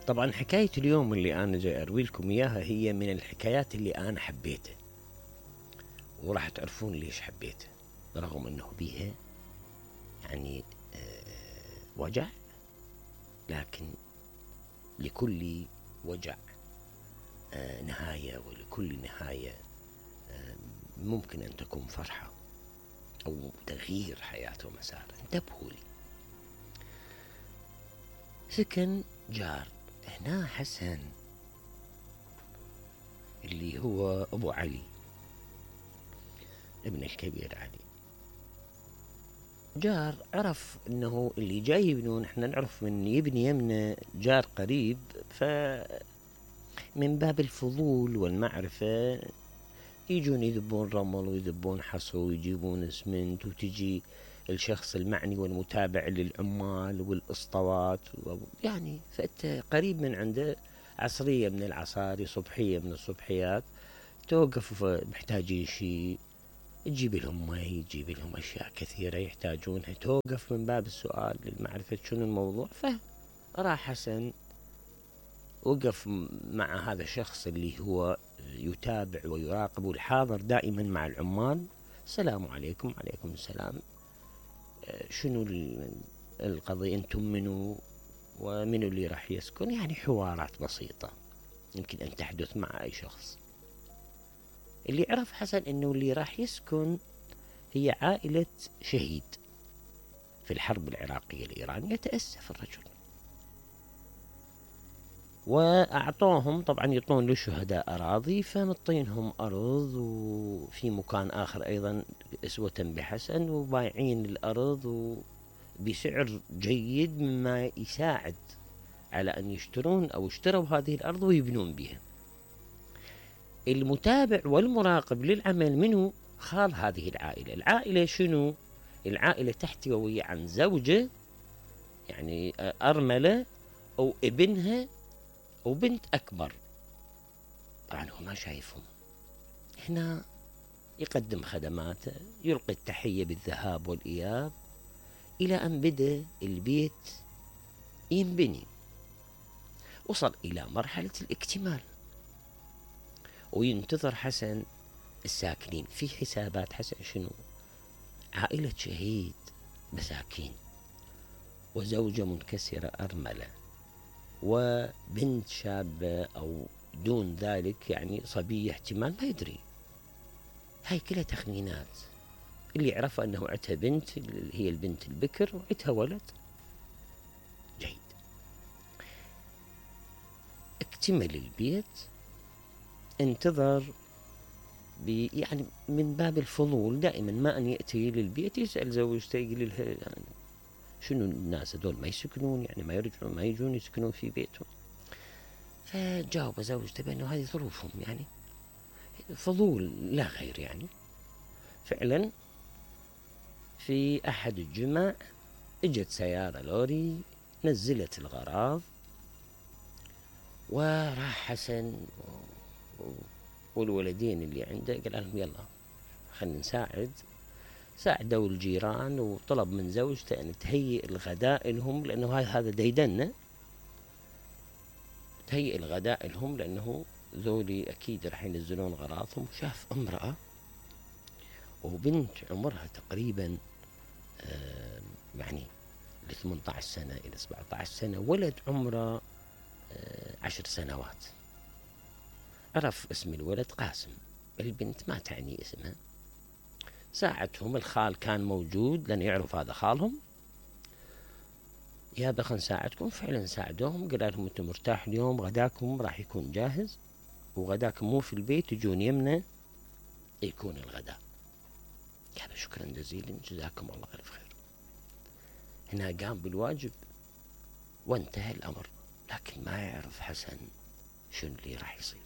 طبعا حكاية اليوم اللي أنا جاي أروي لكم إياها هي من الحكايات اللي أنا حبيتها، وراح تعرفون ليش حبيتها، رغم أنه بيها يعني وجع، لكن لكل وجع نهاية، ولكل نهاية ممكن أن تكون فرحة أو تغيير حياة ومسار. انتبهوا لي. سكن جار هنا حسن اللي هو أبو علي ابن الكبير علي. جار عرف أنه اللي جاي يبنون، احنا نعرف من يبني يمنا جار قريب، فمن باب الفضول والمعرفة يجون يذبون رمل ويذبون حصى ويجيبون اسمنت، وتجي الشخص المعني والمتابع للعمال والاسطوات، يعني فأنت قريب من عنده، عصرية من العصاري، صبحية من الصبحيات، توقف محتاجين شيء، تجيب لهم مي، تجيب لهم أشياء كثيرة يحتاجونها، توقف من باب السؤال للمعرفة شنو الموضوع. فراح حسن وقف مع هذا الشخص اللي هو يتابع ويراقب والحاضر دائما مع العمال. السلام عليكم. عليكم السلام. شنو القضية؟ انتم منو ومنو اللي راح يسكن؟ يعني حوارات بسيطة يمكن أن تحدث مع أي شخص. اللي عرف حسن أنه اللي راح يسكن هي عائلة شهيد في الحرب العراقية الإيرانية. تأسف الرجل وأعطوهم، طبعا يطلون للشهداء أراضي، فمطينهم أرض، وفي مكان آخر أيضا أسوة بحسن، وبايعين الأرض بسعر جيد مما يساعد على أن يشترون أو اشتروا هذه الأرض ويبنون بها. المتابع والمراقب للعمل منه خال هذه العائلة. العائلة شنو؟ العائلة تحتوي عن زوجة يعني أرملة أو ابنها وبنت أكبر. طبعا هو ما شايفهم. هنا يقدم خدماته، يلقي التحية بالذهاب والإياب، إلى أن بدأ البيت ينبني، وصل إلى مرحلة الاكتمال، وينتظر حسن الساكنين. في حسابات حسن شنو؟ عائلة شهيد مساكين، وزوجة منكسرة أرملة، وبنت شابة أو دون ذلك يعني صبية احتمال ما يدري. هاي كلها تخمينات. اللي عرفه أنه عتها بنت، اللي هي البنت البكر، وعتها ولد. جيد. اكتمل البيت، انتظر يعني من باب الفضول دائما ما أن يأتي للبيت يسأل زوجته، يقول لها يعني شنو الناس هذول ما يسكنون، يعني ما يرجعون، ما يجون يسكنون في بيتهم. فجاوب زوجته بأنه هذه ظروفهم، يعني فضول لا غير. يعني فعلا في أحد الجمع اجت سيارة لوري، نزلت الغراض، وراح حسن والولدين اللي عنده قال لهم يلا خلينا نساعد. ساعدوا الجيران، وطلب من زوجته أن تهيئ الغداء لهم، لأنه هذا ديدنة، تهيئ الغداء لهم لأنه ذولي أكيد راح ينزلون غراضهم. شاف امرأة وبنت عمرها تقريبا يعني 18 سنة إلى 17 سنة، ولد عمره 10 سنوات. عرف اسم الولد قاسم، البنت ما تعني اسمها. ساعدهم، الخال كان موجود لأن يعرف هذا خالهم، يا خلينا نساعدكم. فعلا ساعدوهم، قال لهم انتم مرتاح اليوم، غداكم راح يكون جاهز، وغداكم مو في البيت، تجون يمنا يكون الغداء. قال شكرا جزيلا، جزاكم الله ألف خير. هنا قام بالواجب وانتهى الأمر، لكن ما يعرف حسن شنو اللي راح يصير.